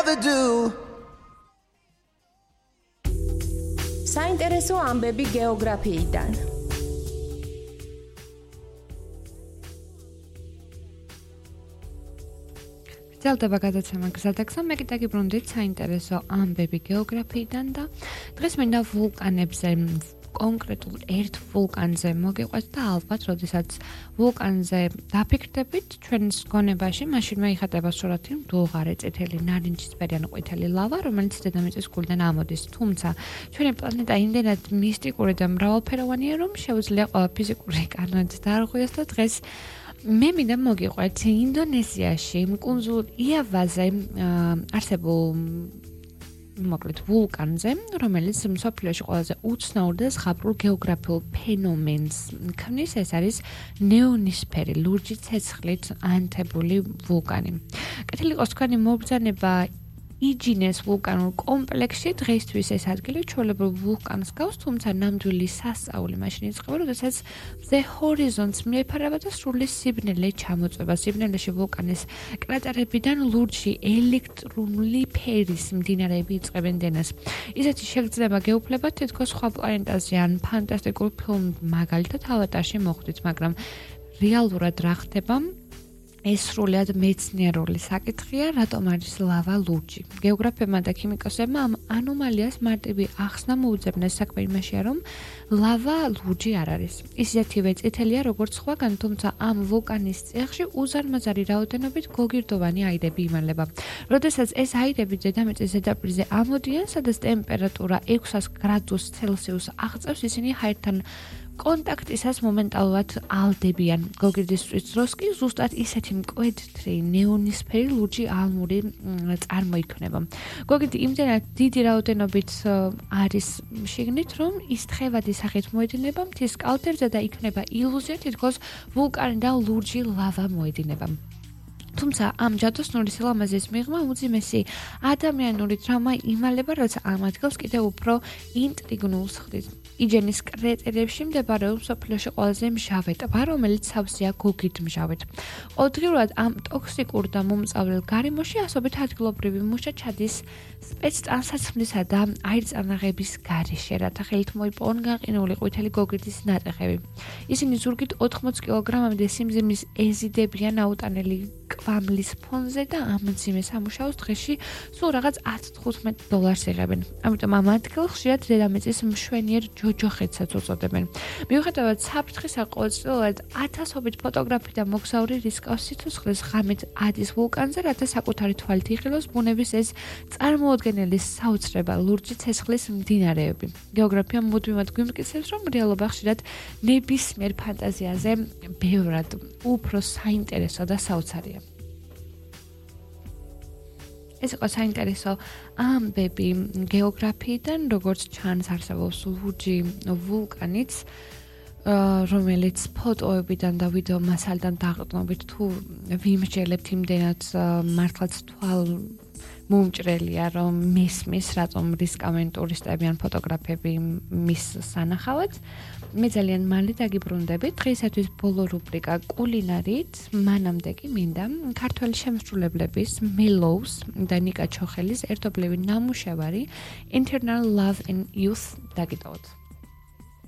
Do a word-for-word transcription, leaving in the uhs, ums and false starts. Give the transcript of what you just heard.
ever do. საინტერესო ამბები გეოგრაფიიდან. გრძელდება გადაცემა გზადაგზა, მე კიდე გიბრუნდით საინტერესო ამბები გეოგრაფიიდან და დღეს მინდა ვულკანებზე, კონკრეტულ ერთ ვულკანზე მოგიყვეთ და ალბათ, როდესაც ვულკანზე დაფიქრდებით ჩვენს გონებაში, მაშინვე იხატება სურათი მდუღარე, წითელი, ნარინჯისფერი ან ყვითელი ლავა, რომელიც დედამიწის გულიდან ამოდის. თუმცა ჩვენი პლანეტა იმდენად მისტიკური და მრავალფეროვანია, რომ შეუძლია ყველა ფიზიკური კანონით დაარღვიოს და დღეს მე მინდა მოგიყვეთ ინდონეზიაში, კუნძულ იავაზე არსებულ მოკლედ ვულკანზე, რომელიც მსოფლიოში ყველაზე უცნაურ და ზღაპრულ გეოგრაფიულ ფენომენს ქმნის. ეს არის ნეონისფერი, ლურჯი ცეცხლით ანთებული ვულკანი. კეთილი იყოს თქვენი მობრძანება იჯინეს ვულკანურ კომპლექსში. დღეისთვის ეს ადგილი ჩვეულებრივ ვულკანს გავს, თუმცა ნამდვილი სასწაული მაშინ იწყება, როდესაც მზე ჰორიზონტს მიეფარება და სრული სიბნელე ჩამოწვება. სიბნელეში ვულკანის კრატერებიდან ლურჯი ელექტრული ფერის მდინარეები იწყებენ დენას. ისეთი შეგრძნება გეუფლებათ თითქოს სხვა პლანეტაზე ან ფანტასტიკურ ფილმ მაგალითად ავატარში მოხვდით, მაგრამ რეალურად რა ხდება? ეს სრულად მეცნიერული საკითხია, რატომ არის ლავა ლურჯი. გეოგრაფებმა და ქიმიკოსებმა ამ ანომალიას მარტივი ახსნა მოუძებნეს. საქმე იმაშია, რომ ლავა ლურჯი არ არის. ისეთივე წითელია, როგორც სხვაგან, თუმცა ამ ვულკანის წიაღში უზარმაზარი რაოდენობით გოგირდოვანი აირები იმალება. როდესაც ეს აირები დედამიწის ზედაპირზე ამოდიან, სადაც ტემპერატურა ექვსას გრადუს ცელსიუსს აღწევს, ისინი ჰაერთან კონტაქტისას მომენტალურად ალდებიან. გოგირდისთვის დროს კი ზუსტად ისეთი მკვეთრი ნეონისფერი ლურჯი ალმური წარმოიქმნება. გოგირდი იმდენად დიდი რაოდენობით არის შიგნით, რომ ის თხევადი სახით მოედინება მთის კალთებზე და იქნება ილუზია, თითქოს ვულკანიდან ლურჯი ლავა მოედინება. თუმცა ამ ჯადოსნური სილამაზის მიღმა უძიმესი ადამიანური თრავმა იმალება, როცა ამ ადგილს კიდევ უფრო ინტრიგნულს ხდის. იჯენის კრატერებში მდებარეობს მსოფლიოში ყველაზე მჟავე ტბა, რომელიც სავსეა გოგირდმჟავით. ყოველდღიურად ამ ტოქსიკურ და მომწავლელ გარემოში ასობით ადგილობრივი მუშა ჩადის სპეცტანსაცმლისა და აირწანაღების გარეშე, რათა ხელით მოიპოვონ გაყინული ყვითელი გოგირდის ნატეხები. ისინი ზურგით ოთხმოცი კილოგრამამდე სიმძიმის ეზიდებიან აუტანელი კვამლის ფონზე და ამ მძიმე სამუშაოს დღეში სულ რაღაც ათს თხუთმეტ დოლარს იღებენ. ამიტომ ამ ადგილს ხშირად დედამიწის მშვენიერ ჯოჯოხეთსაც უწოდებენ. მიუხედავად საფრთხისა, ყოველწლიურად ათასობით ფოტოგრაფი და მოგზაური რისკავს სიცოცხლეს ღამით ადის ვულკანზე, რათა საკუთარი თვალით იხილოს ბუნების ეს წარმოუდგენელი საოცრება ლურჯი ცეცხლის მდინარეები. გეოგრაფია მუდმივად გვიმტკიცებს, რომ რეალობა ხშირად ნებისმიერ ფანტაზიაზე ბევრად უფრო საინტერესო და საოცარია. ეს იყო საინტერესო ამბები გეოგრაფიიდან, როგორც ჩანს არსებობს ლურჯი ვულკანიც, რომელიც ფოტოებიდან და ვიდეო მასალიდან დაყრდნობით თუ ვიმსჯელებთ იმდენად მართლაც თვალ მომჭრელია, რომ მისმის, რატომ რისკავენ ტურისტები ან ფოტოგრაფები მის სანახავად. მე ძალიან მალე დაგიბრუნდებით. დღეისათვის ბოლო რუბრიკა კულინარით, მანამდე კი მინდა ქართველი შემსრულებლების მელოუს და ნიკა ჩოხელის ერთობლივი ნამუშევარი Internal Love and Youth დაგიტოვოთ.